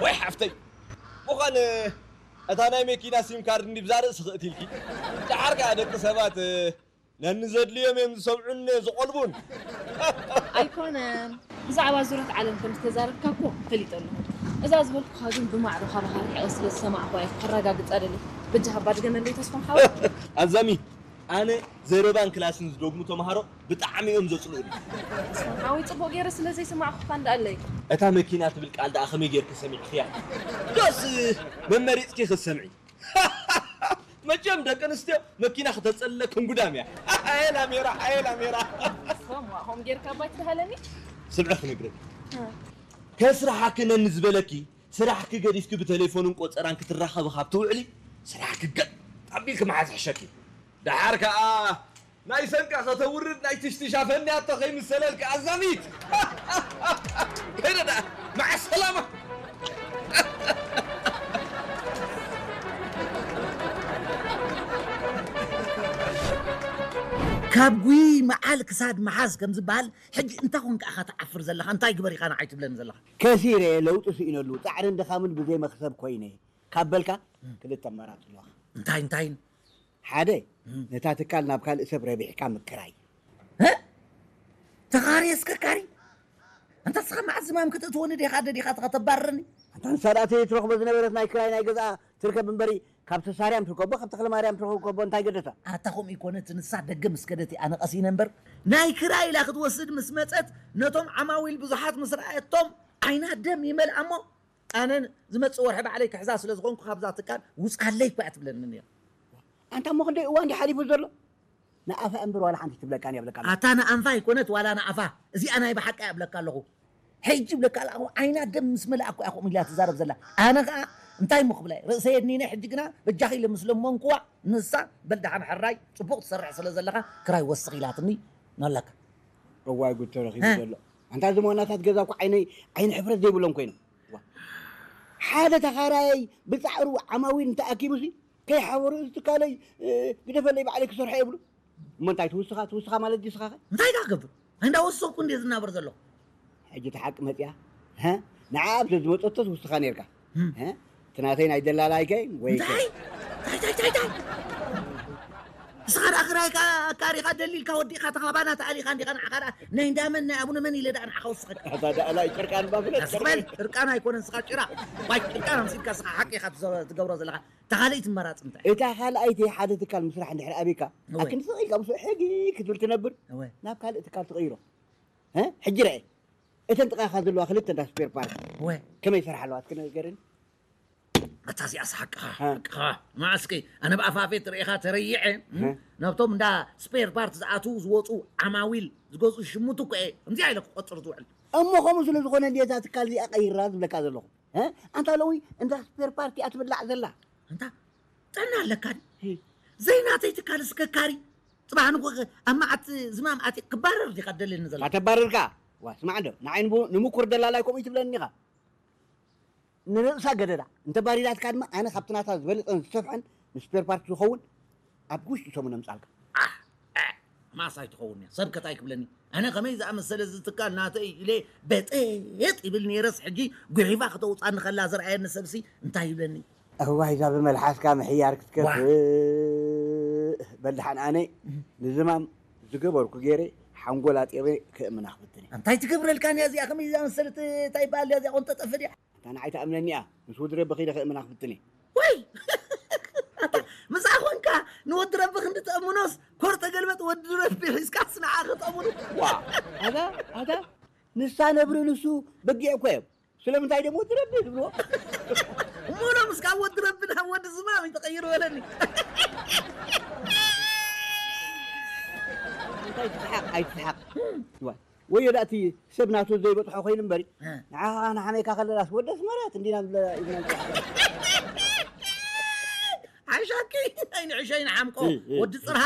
ወይ ሓፍተይ፣ ምዃን እታ ናይ መኪና ሲም ካርድ እንዲ ብዛ ርእሲ ክእትልኪ። ደሓር ከኣ ደቂ ሰባት ነኒ ዘድልዮም እዮም ዝሰምዑን ዝቖልቡን። ኣይኮነን። ብዛዕባ ዙረት ዓለም ከም ዝተዛረብካ እኮ ፈሊጠ ኣለኹ። እዛ ዝበልኩኻ ግን ብማዕዶ ካብ ሃርሒቐ ስለ ዝሰማዕኳ እየ ከረጋግጻ ደሊ። በጃኻ ባድገመለይ ተስፋም ሓወይ። ኣዛሚ፣ ኣነ ዘረባን ክላስን ዝደግሙ ተምሃሮ ብጣዕሚ እዮም ዘጽልኡኒ። ተስፋም ሓወይ ጽቡቕ ገይረ ስለ ዘይሰማዕኩኻ እንዳኣለይ። እታ መኪና ትብል ቃል ደኣ ከመይ ጌርኪ ሰሚዕክያ? ዶስ መመሪጽኪ ክትሰምዒ? መቸም ደቂ ኣንስትዮ መኪና ክተጸልለክን ጉዳም እያ። ኣየ ላሜራ፣ ኣየ ላሜራ። ተስፋም ዋ፣ ሆም ጌርካ ባይ ትድሃለኒ? ስምዒ ክነግረኪ። ከስርሓኪ ነኒ ዝበለኪ፣ ስራሕኪ ገዲፍኪ ብቴሌፎንን ቆጸራን ክትራኸቢ ካብ ትውዕሊ፣ ስራሕኪ ገጥ ኣቢልኪ ምሓዝ ሕሸኪ። ደሓር ከኣ ናይ ሰንቃ ከተውርድ ናይ ትሽትሻ ፈንያቶ ከይምሰለልኪ ኣዛሚት። ከይደ ደኣ፣ መዓ ሰላማ። ካብ ጉይ መዓል ክሳድ መሓዝ ከም ዝበሃል፣ ሕጂ እንታይ ኮንካ ኢኻ ትዓፍር ዘለኻ? እንታይ ግበር ኢኻ ንዓይ ትብለኒ ዘለኻ? ከሲረ፣ ለውጢ ስኢነሉ፣ ጻዕርን ድኻምን ብዘይ መኽሰብ ኮይነ ካብ በልካ፣ ክልተ ኣማራጺ ኣለዋኻ። እንታይ እንታይን? ሓደ፣ ነታ ትካል ናብ ካልእ ሰብ ረቢሕካ ምክራይ። እ? ተኻሪ ኣስከርካሪ? ኣንታ ንስኻ መዓት ዝማም ከተእትወኒ ዲኻ ደሊኻ ተባርረኒ? ኣንታ ንሳ ደኣ ትረኽቦ ዝነበረት ናይ ክራይ ናይ ገዝኣ ትርከብ እምበሪ፣ ካብ ተሳርያም ትርከቦ፣ ካብ ተኽለማርያም ትረኽቦ እንታይ ገደሳ? ኣታ ከምኡ ይኮነት፣ ንሳ ደገ ምስ ከደት ኣነ ቀሲነ እምበር፣ ናይ ክራይ ኢላ ክትወስድ ምስ መጸት፣ ነቶም ዓማዊል ብዙሓት ምስ ረኣየቶም ዓይና ደም ይመልኣ እሞ፣ ኣነ ዝመጽእ ወርሒ ባዕለይ ክሕዛ ስለ ዝኾንኩ ካብዛ ትካል ውጻለይ እኮ እያ ትብለኒ ነይራ። ኣንታ እሞ ክንደይ እዋን ድዩ ሓሊፉ ዘሎ? ንኣፋ እምበር ዋላ ሓንቲ ትብለካን እያ ብለካ ኣለኹ። ኣታ ንኣንፋ ኣይኮነት ዋላ ንኣፋ፣ እዚኣ ናይ ብሓቂ እያ ብለካ ኣለኹ። ሕጂ ብለካ ኣለኹ ዓይና ደም ምስ መለኣ እኮ እያ ከምኡ ኢላ ትዛረብ ዘላ። ኣነ ኸኣ እንታይ እሞ ክብላ እየ? ርእሰይ የድኒነ። ሕጂ ግና በጃኺ ኢለ ምስ ለመንኩዋ፣ ንሳ በል ደሓን ሕራይ ጽቡቕ ትሰርሕ ስለ ዘለኻ ክራይ ወስኽ ኢላትኒ ኣለካ። እዋይ ጉድ ተረኺቡ እ? ዘሎ። ኣንታ እዚ ሞናታት ገዛ እኮ ዓይነይ ዓይኒ ሕፍረት ዘይብሎም ኮይኖም። ዋ። ሓደ ተኻራያይ ብጻዕሩ ዓማዊል እንተኣኪቡሲ ከይሓበሩ እዚ ትካለይ እ፣ ግደፈለይ ባዕለይ ክሰርሖ እየ ይብሉ። እሞ እንታይ ትውስኻ ትውስኻ ማለት ድዩ ስኻ ኸ? እንታይ ኢኻ ክገብር? ኣይ እንዳወሰኹ እንዴ ዝናበር ዘለኹ? ሕጂ እቲ ሓቂ መጽያ ሀ? ንዓ ኣብ ዝመጸቶ ትውስኻ ነርካ እም። ሀ? እቲ ናተይ ናይ ደላላይከ ወይ እንታይ እንታይ እንታይ እንታይ እንታይ? ንስኻ ደኣ ክራይካ ኣካሪኻ ደሊልካ ወዲእካ ተኻባና ተኣሊኻ እንዲኻ ንዓኻ ደኣ ናይ እንዳመን ናይ ኣቡነ መን ኢለ ደኣ ንዓኻ ወስኸካ ኣታ ደኣ ላይ ጭርቃን ባፍለት ኣስበል ጭርቃን ኣይኮነን ንስኻ ጭራ ዋይ ጭርቃን ኣምሲልካ ንስኻ ሓቂ ኢኻ ትዘ- ትገብሮ ዘለኻ እታ ካልኣይቲ መራፂ እንታይ እታ ካልኣይቲ ሓደ ትካል ምስራሕ እንድሕር ኣበይካ እወ። ኣክንዲ ስቕ ኢልካ ምስኡ ሕጊ ክትብል ትነብር እወ። ናብ ካልእ ትካል ትቕይሮ እ? ሕጂ ርአ እተን ጥቓኻ ዘለዋ ክልተ እንዳ ስፔር ፓርት እወ። ከመይ ይሰርሓ ኣለዋ እስኪ ንገርኒ ኣታ እዚኣስ ሓቅኻ ሓቅኻ መዓስኪ ኣነ ብኣፋፌት ርኢኻ ተረይዐ ናብቶም እንዳ ስፔር ፓርት ዝኣትዉ ዝወፁ ዓማዊል ዝገዝኡ ሽሙት እኮ እየ ከምዚኣ ኢለ ክቆፅር ዝውዕል እሞ ከምኡ ስለ ዝኾነ እንዲ እዛ ትካል እዚኣ ቀይራ ዝብለካ ዘለኹ ኣንታ ሎሚ እንዳ ስፔር ፓርት እያ ትብላዕ ዘላ ኣንታ ጥዕና ኣለካ ዘይናተይ ትካል ስከካሪ ፅባሕ ንጎ ኣብ መዓት ዝማም ኣቲ ክባረር ዲኻ ደልየኒ ዘላ ከተባርርካ ዋ ስማዕ እንዶ ንዓይ ንምኩር ደላላይ ከምኡ ትብለኒ ኢኻ ንርእሳ ገደዳ እንተ ባሪራትካ ድማ ኣነ ካብቲ ናታ ዝበለፀን ዝሰፍሐን ንስፔር ፓርት ዝኸውን ኣብ ውሽጢ ሰሙን ኣምፃልካ ማሳ ኣይትኸውን እያ ሰብ ከታይ ክብለኒ ኣነ ከመይ ዝኣመሰለ ዝትካል ናተይ ኢለ በጤጥ ይብል ነይረስ ሕጂ ጉሒፋ ክተውፃኒ ከላ ዝረኣየኒ ሰብሲ እንታይ ይብለኒ እዋይ እዛ ብመልሓስካ ምሕያር ክትከፍእ በልድሓን ኣነ ንዝማም ዝገበርኩ ገይረ ሓንጎል ኣጢረ ክእምና ክፍትን እየ እንታይ ትገብረልካን እያ እዚኣ ከመይ ዝኣመሰለት እንታይ ይበሃል እያ እዚኣ ቆንጠጠፍ ድያ ኣንታ ንዓይ ትኣምነኒ እያ ምስ ወዲ ረቢ ኸይደ ከእምና ክፍትን እየ ወይ ኣታ ምሳ ኾንካ ንወዲ ረቢ ክንዲ ተእምኖስ ኮር ተገልበጥ ወዲ ረቢ ሒዝካስ ንዓ ክጠምኑ ዋ ኣታ ኣታ ንሳ ነብሪ ንሱ በጊዕ እኮ እዮም ስለምንታይ ደሞ ወዲ ረቢ ትብልዎ እሞ ሎምስ ካብ ወዲ ረቢ ናብ ወዲ ዝማም እዩ ተቐይሩ በለኒ እንታይ ትስሓቕ ኣይትስሓቕ ወዮ ዳእቲ ሰብ ናቱ ዘይበፅሖ ኮይኑ እምበሪ ንዓኻ ንሓመይካ ከለላስ ወደ ኣስመራ ትንዲና ኢልና ሓሻኪ ኣይንዕሸይ ንሓምቆ ወዲ ፅርሃ